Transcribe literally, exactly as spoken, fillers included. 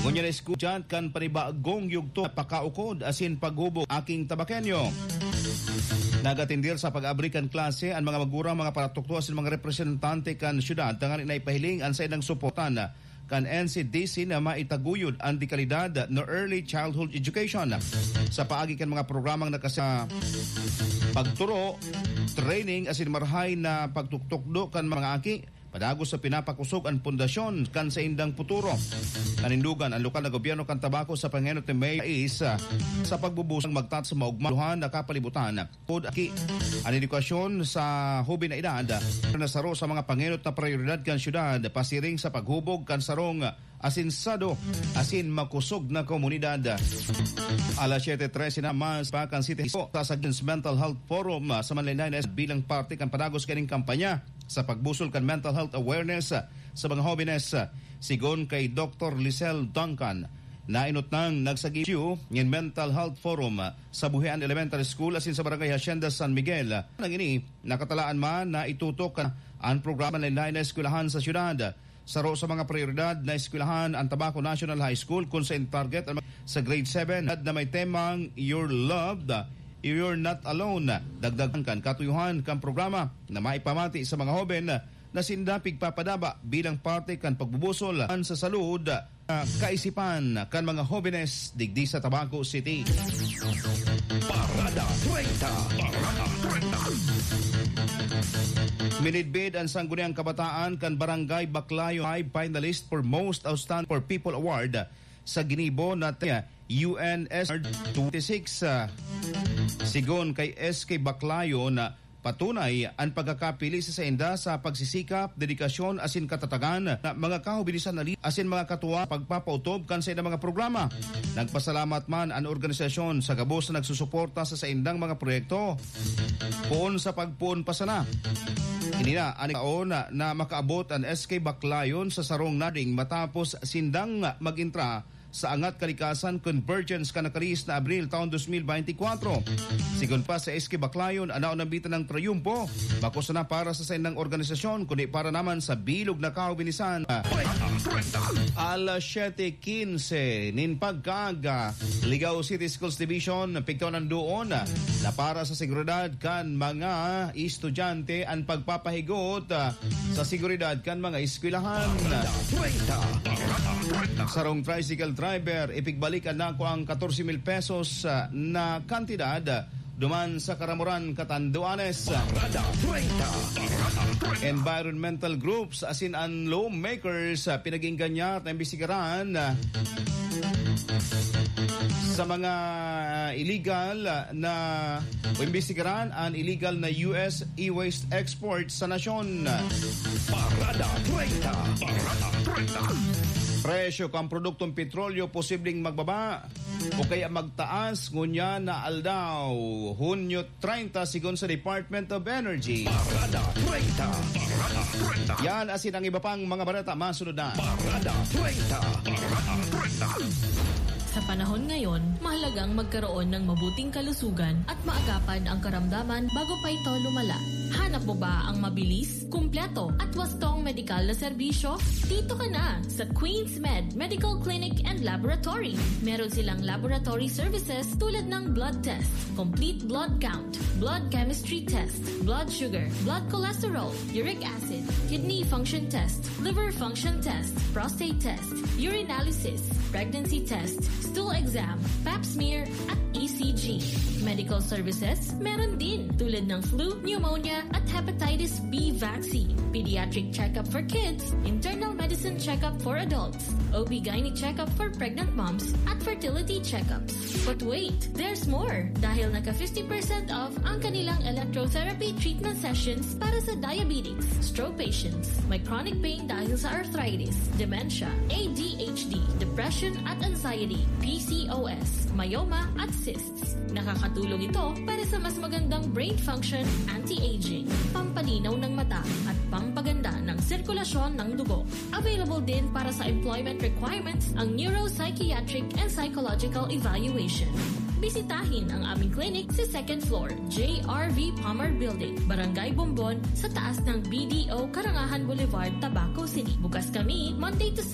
Ngunyan na estudyante kan panibagong yugto, pakaukod asin paghubog aking Tabaqueño. Nagatindir sa pag-abri kan klase an mga magurang, mga paratukdo asin mga representante kan syudad tanganing na ipahiling an saindang suporta kan N C D C na maitaguyod an dekalidad na early childhood education. Sa paagi kan mga programang nakasa pagturo, training asin marahay na pagtuktukdo kan mga aki, padagos sa pinapakosog an pundasyon kan saindang futuro. Nanindogan an lokal na gobyerno kan Tabaco sa pangenot ni May is, ah, sa pagbubusang magtat sa maugmahan na kapalibutan. Pod aki, an edukasyon sa hoben na edad na saro sa mga pangenot na prioridad kan syudad, pasiring sa paghubog kan sarong asinsado asin makosog na komunidad. Alas siyete trese na mas pa kan City Hall sa Saguen's Mental Health Forum, ah, sa Manlaynay na bilang parte kan padagos kaning kampanya sa pagbusol kan mental health awareness, ah, sa mga hobenes, ah, sigon kay Doktor Lisel Duncan. Nainot nang nagsagip ngin Mental Health Forum, ah, sa Buhian Elementary School asin sa Barangay Hacienda San Miguel. Nang ini, nakatalaan man na itutok an programa na lain-lain na eskwelahan sa syudad. Saro sa mga prioridad na eskwelahan an Tabaco National High School, kun sa in target ang mga sa grade seven na may temang "You're Loved, You're Not Alone." Dagdag kan katuyuhan kan programa na maipamati sa mga hoben na sinda pigpapadaba bilang parte kan pagbubusol sa salud, ah, kaisipan kan mga hobenes digdi sa Tabaco City. Parada treinta. Parada treinta. Minidbid an Sangguniang Kabataan kan Barangay Baclayon, five finalist for Most Outstanding for People Award sa ginibo na U N S twenty-six, ah, sigon kay S K Baclayon, na patunay an pagkakapili sa sainda sa pagsisikap, dedikasyon asin katatagan na mga kahobinisan na li-, asin mga katuwa pagpapaotob kan saindang mga programa. Nagpasalamat man an organisasyon sa gabos na nagsusuporta sa saindang mga proyekto. Poon sa pagpoon pa sana. Ini na an taon na, na makaabot an S K Baclayon sa sarong nading matapos sindang mag-entra sa Angat Kalikasan Convergence kan nakalihis na Abril taon dos mil beintikwatro. Sigon pa sa S K Baclayon, an naon nambitan ng trayumpo, bako sana para sa saindang organisasyon, kundi para naman sa bilog na kahobinisan. Alas siyete quince nin pagkaaga, Ligao City Schools Division, pigtaw ng doon na para sa seguridad kan mga estudyante an pagpapahigot, ah, sa seguridad kan mga eskwelahan. Sarong tricycle driver, ipigbalik na ang katorse mil pesos, ah, na kantidad duman sa Karamoran, Catanduanes. Environmental groups asin an lawmakers, ah, pinag-iinganyan na imbestigaran, ah, sa mga illegal na, o imbestigaran an illegal na U S e-waste export sa nasyon. Parada treinta. Parada treinta. Presyo kan produktong petrolyo posibleng magbaba o kaya magtaas ngunyan na aldaw, Hunyo treinta, sigon sa Department of Energy. Parada treinta. Parada treinta. Yan asin ang iba pang mga balita masunod na. Parada treinta. Parada treinta. Sa panahon ngayon, mahalagang magkaroon ng mabuting kalusugan at maagapan ang karamdaman bago pa ito lumala. Hanap mo ba ang mabilis, kumpleto at wastong medikal na serbisyo? Dito ka na sa Queens Med Medical Clinic and Laboratory. Meron silang laboratory services tulad ng blood test, complete blood count, blood chemistry test, blood sugar, blood cholesterol, uric acid, kidney function test, liver function test, prostate test, urinalysis, pregnancy test, stool exam, pap smear, at E C G. Medical services, meron din, tulad ng flu, pneumonia, at hepatitis B vaccine, pediatric checkup for kids, internal medicine checkup for adults, O B gynae checkup for pregnant moms, at fertility checkups. But wait, there's more! Dahil naka fifty percent off ang kanilang electrotherapy treatment sessions para sa diabetes, stroke patients, may chronic pain dahil sa arthritis, dementia, A D H D, depression at anxiety, P C O S, myoma at cysts. Nakakatulong ito para sa mas magandang brain function, anti-aging, pampalinaw ng mata, at pampaganda ng sirkulasyon ng dugo. Available din para sa employment requirements ang neuropsychiatric and psychological evaluation. Bisitahin ang aming clinic sa second floor, J R V Palmer Building, Barangay Bombon, sa taas ng B D O Karangahan Boulevard, Tabaco City. Bukas kami Monday to